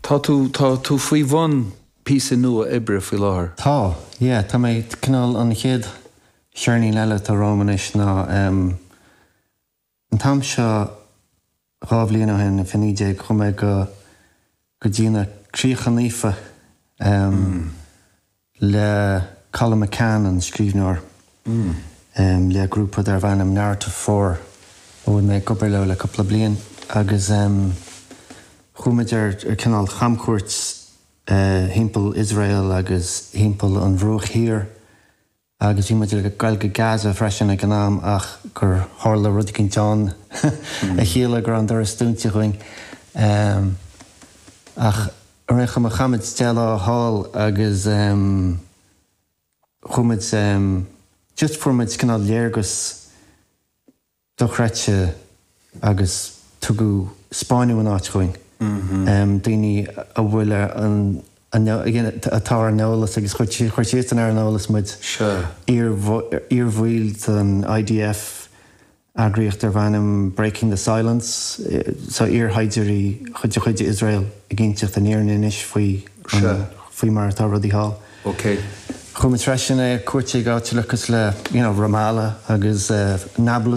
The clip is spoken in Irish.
Tá tú, tá tú faoi bhun píosa nua oibre faoi láthair. Tá, yeah, tá mé, cineál an chéad cheirnín eile atá romham anois ná em an t-am seo 2 bhliain ó shin, i 2019, chuaigh mé go go dtí na Críocha Naofa em le Colum McCann, an scríbhneoir, le grúpa darbh ainm Narrative 4 a bhfuil mé ag obair leo le cúpla bliain agus chuaigh muid ar cineál chamchuairt thimpeall Iosrael agus thimpeall an Bhruach Thiar agus bhí muid ag goil go Gaza freisin ag an am ach gur tharla rud eicínt ann a chiallaigh go raibh an doras dúnta dhúinn. Ach ar aon chuma chaith muid 10 lá thall agus chuaigh muid, just fuair muid cineál léargas dochreidte agus tugadh 'spáineadh an áit dhúinn. Daoine a bhfuil ar an atá ar an eolas agus chuir siadsan ar an eolas muid, iarbhaill den IDF, eagraíocht darb ainm Breaking the Silence, so iarshaighdiúirí de chuid Iosrael ag inseacht an fhírinne anois faoi faoi mar atá rudaí thall. Chuaigh muid freisin ar cuairt ag áiteanna cosúil le you know Ramallah agus Nablus.